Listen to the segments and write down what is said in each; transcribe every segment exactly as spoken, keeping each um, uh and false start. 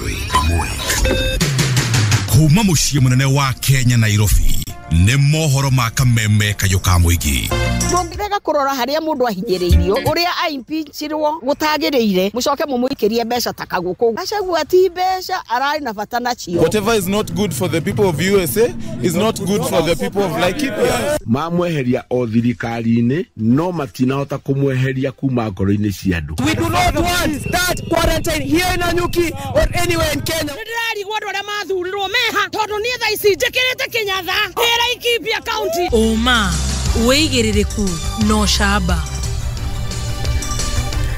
Ĩmwe kuma mũciĩ mũnene wa Kenya, Nairobi, nĩ mohoro ma kameme kayũ ka mũingĩ. Mũngĩrega kũrora harĩa mũndũ ahinyĩrĩirio, ũrĩa aimpichirwo gũtagĩrĩire, mũcoke mũmũikĩrie mbeca ta kagũkũ. Gachagua ti mbeca ararĩ na bata nacio. Whatever is not good for the people of U S A is not good for the people of Laikipia. Mamweheria o thirikari-inĩ, no matinahota kũmweheria kuma ngoro-inĩ cia andũ. We do not want that quarantine here in Nanyuki or anywhere in Kenya. Nĩndĩrarigwo andũ arĩa mathurirwo meha, tondũ niĩ thaa ici njĩkĩrĩte kĩnyatha ndĩ Laikipia County. Ũma, wĩigĩrĩrĩku na ũcamba.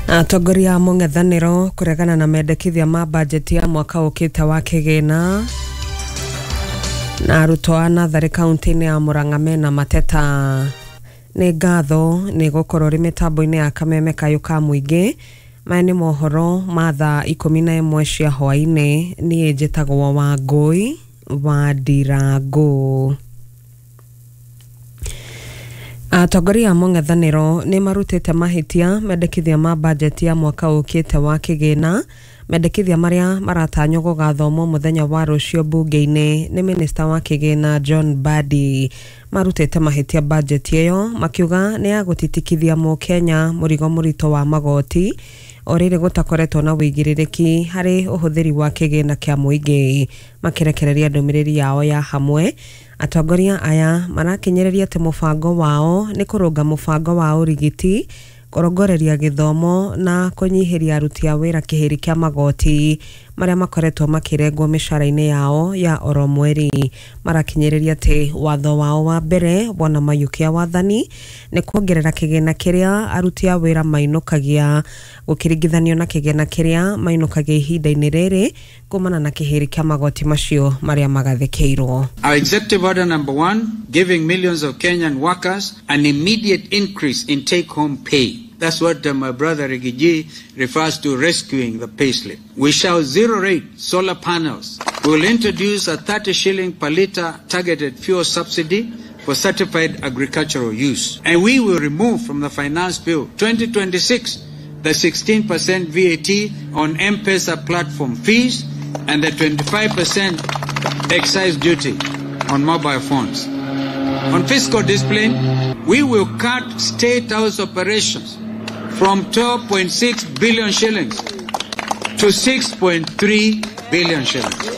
Atongoria a mũng'ethanĩro kũregana na mendekithia ma bajeti ya mwaka ũkĩte wa kĩgĩna, na arutwo a natharĩ kaunti-inĩ ya Murang'a mena mateta. Nĩ ngatho nĩ gũkorwo rĩ mĩtambo-inĩ ya kameme kayũ ka mũingĩ. Maya nĩ mohoro ma thaa ikũmi na ĩmwe cia hwaĩ-inĩ. Niĩ njĩtagwo Wangũi wa Ndirangũ. Atongoria a mũng'ethanĩro nĩ marutĩte mahĩtia mendekithia ma bajeti ya mwaka ũkĩte wa kĩgĩna, mendekithia marĩa maratanywo gũgathomwo mũthenya wa rũciũ mbunge-inĩ nĩ minista wa kĩgĩna John Mbadi. Marutĩte mahĩtia bajeti ĩyo, makiuga nĩ ya gũtitikithia mũkenya mũrigo mũritũ wa magoti, o rĩrĩ gũtakoretwo na wĩigĩrĩrĩki harĩ ũhũthĩri wa kĩgĩna kĩa mũingĩ. Makĩrekereria ndũmĩrĩri yao ya hamwe, atongoria aya marakinyĩrĩria atĩ mũbango wao nĩ kũrũnga mũbango wa ũrigiti, kũrongoreria gĩthomo na kũnyihĩria aruti a wĩra kĩhĩri kĩa magoti marĩa makoretwo makĩrengwo mĩcara-inĩ yao ya oro mweri. Marakinyĩrĩria atĩ watho wao wa mbere wona mayũkia wathani nĩ kuongerera kĩgĩna kĩrĩa aruti a wĩra mainũkagia gũkĩringithanio na kĩgĩna kĩrĩa mainũkagia ihinda-inĩ rĩrĩ kumana na kĩhĩri kĩa magoti macio marĩa magathĩkĩirwo. Our executive order number one, giving millions of Kenyan workers an immediate increase in take-home pay. That's what uh, my brother Riggy G refers to, rescuing the payslip. We shall zero rate solar panels. We will introduce a thirty shilling per litre targeted fuel subsidy for certified agricultural use. And we will remove from the Finance Bill twenty twenty-six the sixteen percent V A T on M-Pesa platform fees and the twenty-five percent excise duty on mobile phones. On fiscal discipline, we will cut State House operations from twelve point six billion shillings to six point three billion shillings.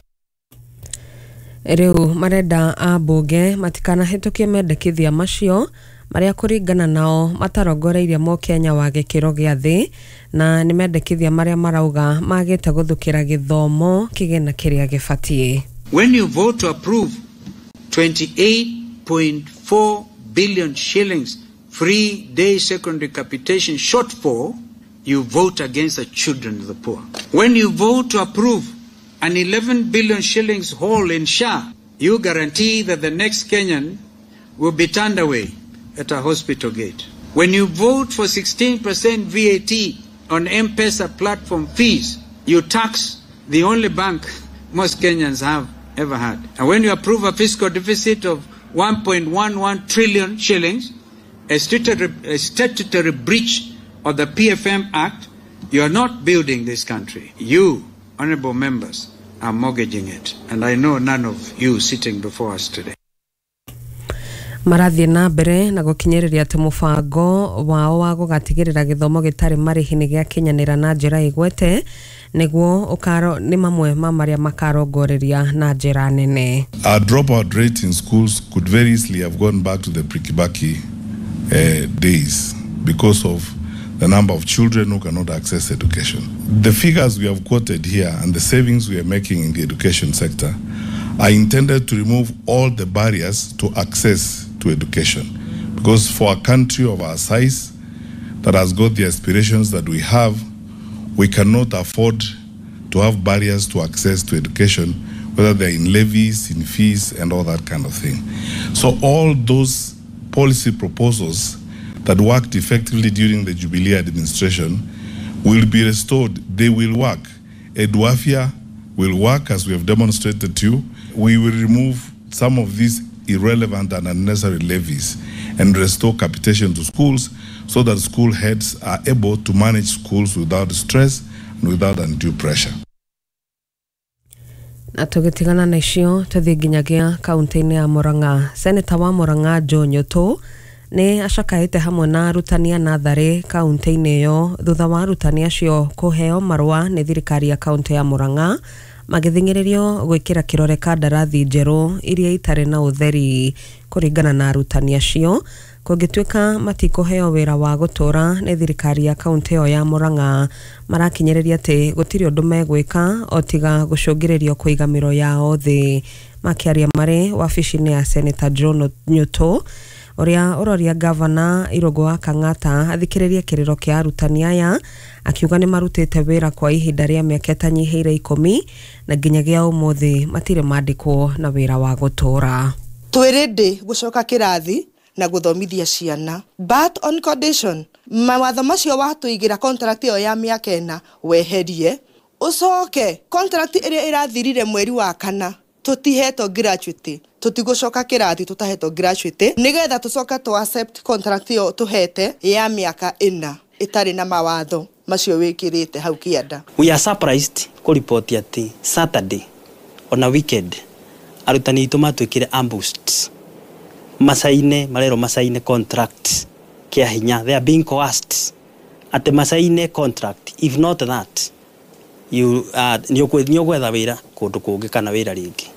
Rĩu marenda ambunge matikanahĩtũkie mendekithia macio marĩa kũringana nao matarongoreirie mũkenya wa gĩkĩro gĩa thĩ, na nĩ mendekithia marĩa marauga magĩte gũthũkĩra gĩthomo kĩgĩna kĩrĩa gĩbatiĩ. When you vote to approve twenty-eight point four billion shillings free day secondary capitation shortfall, you vote against the children of the poor. When you vote to approve an eleven billion shillings hole in S H A, you guarantee that the next Kenyan will be turned away at a hospital gate. When you vote for sixteen percent V A T on M-Pesa platform fees, you tax the only bank most Kenyans have ever had. And when you approve a fiscal deficit of one point one one trillion shillings, a statutory, a statutory breach of the P F M Act, you are not building this country. You, honorable members, are mortgaging it. And I know none of you sitting before us today. Marathiĩ na mbere na gũkinyĩrĩria atĩ mũbango wao wa gũgatigĩrĩra gĩthomo gĩtarĩ marĩhi nĩ gĩakinyanĩra na njĩra ĩgwete nĩguo ũkaro nĩ mamwe ma marĩa makarongoreria na njĩra nene. Our dropout rate in schools could very easily have gone back to the pre-Kibaki uh, days because of the number of children who cannot access education. The figures we have quoted here and the savings we are making in the education sector are intended to remove all the barriers to access to education. Because for a country of our size that has got the aspirations that we have, we cannot afford to have barriers to access to education, whether they're in levies, in fees, and all that kind of thing. So all those policy proposals that worked effectively during the Jubilee administration will be restored. They will work. Eduafia will work, as we have demonstrated to you. We will remove some of these irrelevant and unnecessary levies and restore capitation to schools so that school heads are able to manage schools without stress and without undue pressure. Na tũgĩtigana na icio tũthiĩ nginyagia kaunti-inĩ ya Murang'a. Seneta wa Murang'a Joe Nyutu nĩ acakaĩte hamwe na arutani a natharĩ kaunti-inĩ ĩyo thutha wa arutani acio kũheo marũa nĩ thirikari ya kaunti ya Murang'a magĩthing'ĩrĩrio gwĩkĩra kĩrore kandarathi njerũ iria itarĩ na ũtheri. Kũringana na arutani acio, kũngĩtuĩka matikũheo wĩra wa gũtũra nĩ thirikari ya kaunti ĩyo ya Murang'a, marakinyĩrĩria atĩ gũtirĩ ũndũ megwĩka o tiga gũcũngĩrĩrio kũiga mĩro yao thĩ. Makĩaria marĩ wabici-inĩ ya Seneta John Nyutu ũrĩa ũroria gavana Irũngũ wa Kang'ata athikĩrĩrie kĩrĩro kĩa arutani aya, akiuga nĩ marutĩte wĩra kwa ihinda rĩa mĩaka ĩtanyihĩire ikũmi na nginyagia ũmũthĩ matirĩ mandĩkwo na wĩra wa gũtũra. Twĩ ready gũcoka kĩrathi na gũthomithia ciana, but on condition mawatho macio watũigĩra contract ĩyo ya mĩaka ĩna weherie, ũcoke contract ĩrĩa ĩrathirire mweri wa kana tũtihetwo gratuity, tũtigũcoka kĩrathi tũtahetwo gratuity, nĩgetha tũcoke tũ accept contract ĩyo tũhete ya mĩaka ĩna ĩtarĩ na mawatho macio wĩkĩrĩte hau kĩanda. We are surprised kũripoti atĩ Saturday ona weekend arutani aitũ matuĩkire ambushed, macaine marerwo macaine contract kĩa hinya. They are being coerced atĩ macaine contract, if not that you uh, nĩ ũgwetha wĩra kũndũ kũngĩ kana wĩra rĩngĩ.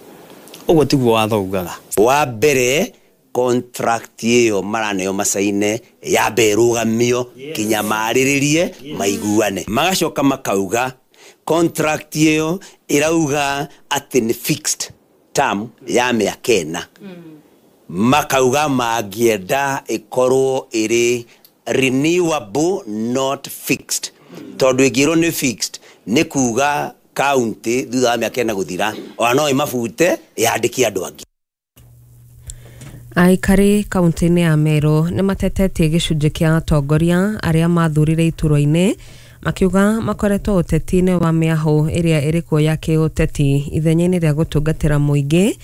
Ũguo tiguo watho ugaga. Wa mbere contract ĩyo maraneo macaine yambe ĩrũgamio kinya marĩrĩrie maiguane. Magacoka makauga contract ĩyo ĩrauga atĩ nĩ fixed term ya mĩaka ĩna. Makauga mangĩenda ĩkorwo ĩrĩ renewable not fixed, tondũ ĩngĩrwo nĩ fixed nĩ kuga kaunti thutha wa mĩaka ĩna gũthira ona no ĩmabute yandĩke andũ angĩ. Aikari kaunti-inĩ ya Meru nĩ matetetie gĩcunjĩ kĩa atongoria arĩa mathurire iturwa-inĩ makiuga makoretwo ũteti-inĩ wa mĩahũ ĩrĩa ĩrĩ kuo ya kĩũteti ithenya-inĩ rĩa gũtungatĩra mũingĩ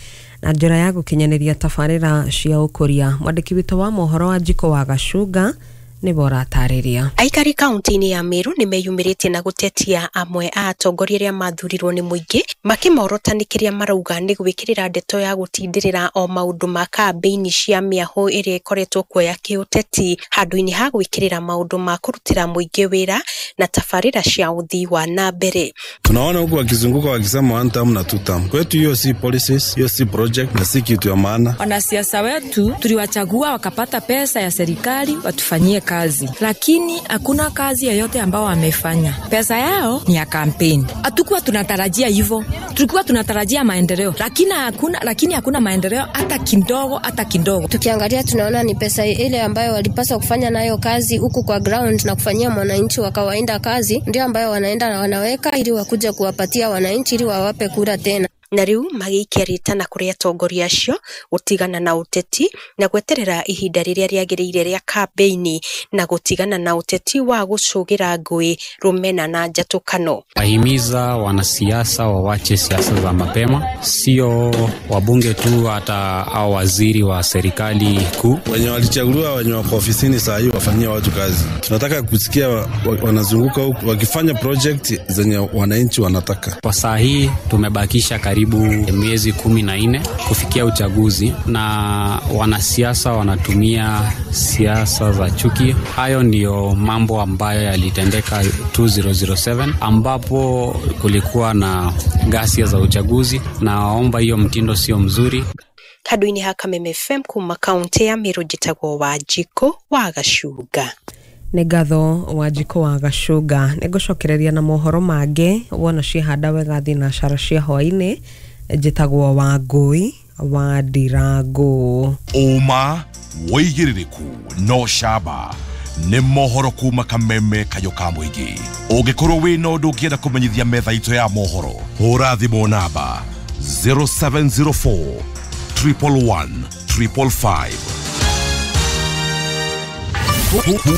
na njĩra ya gũkinyanĩria tabarĩra cia ũkũria. Mwandĩki witũ wa mohoro wa Njiko wa Gacunga nĩwe ũratarĩria. Aikari kaunti-inĩ ya Meru nĩ meyumĩrĩtie na gũtetia amwe a atongoria arĩa mathurirwo nĩ mũingĩ makĩmorota nĩ kĩrĩa marauga nĩ gwĩkĩrĩra ndeto ya gũtindĩrĩra o maũndũ ma kambĩini cia mĩahũ ĩrĩa ĩkoretwo kuo ya kĩũteti handũ-inĩ ha gwĩkĩrĩra maũndũ ma kũrutĩra mũingĩ wĩra na tabarĩra cia ũthii wa na mbere. Tunaona huku wakizunguka wakisema one term na two term. Kwetu hiyo si policies, hiyo si project na si kitu ya maana. Wanasiasa wetu tuliwachagua wakapata pesa ya serikali watufanyie kazi, lakini hakuna kazi yoyote ambao wamefanya. Pesa yao ni ya kampeni. Hatukuwa tunatarajia hivyo, tulikuwa tunatarajia maendeleo, lakini hakuna, lakini hakuna maendeleo hata kidogo, hata kidogo. Tukiangalia tunaona ni pesa ile ambayo walipaswa kufanya nayo kazi huku kwa ground na kufanyia mwananchi wa kawaida kazi, ndio ambayo wanaenda na wanaweka ili wakuja kuwapatia wananchi ili wawape kura tena. Na riu magĩikia rĩtana kũrĩ atongoria acio gũtigana na ũteti na gweterera ihinda rĩrĩa rĩagĩrĩire rĩa kambĩini na gũtigana na ũteti wa gũcũgĩra ngũĩ, rũmena na njatũkano. Ahimiza wanasiasa wawache siasa za mapema, sio wabunge tu, hata au waziri wa serikali kuu. Wenye walichaguliwa, wenye wako ofisini saa hii wafanyie watu kazi. Tunataka kusikia wanazunguka huku wakifanya project zenye wananchi wanataka. Kwa saa hii tumebakisha karibu miezi kumi na nne kufikia uchaguzi, na wanasiasa wanatumia siasa za chuki. Hayo ndiyo mambo ambayo yalitendeka two thousand seven ambapo kulikuwa na ghasia za uchaguzi, na waomba hiyo mtindo sio mzuri. Handũ-inĩ ha Kameme F M kuma kaunti ya Meru, njĩtagwo Wanjikũ wa Gacunga. Nĩ ngatho Wanjikũ wa Gacunga. Nĩ ngũcokereria na mohoro mangĩ wona ciehanda wega thinacara cia hwaĩ-inĩ. Njĩtagwo Wangũi wa Ndirango. Ũma wĩigĩrĩrĩku no camba nĩ mohoro kuma Kameme kayũ ka mũingĩ. Ũngĩkorwo wĩna ũndũ ũngĩenda kũmenyithia metha itũ ya mohoro, hũra thimũ namba zero seven zero four triple one triple five.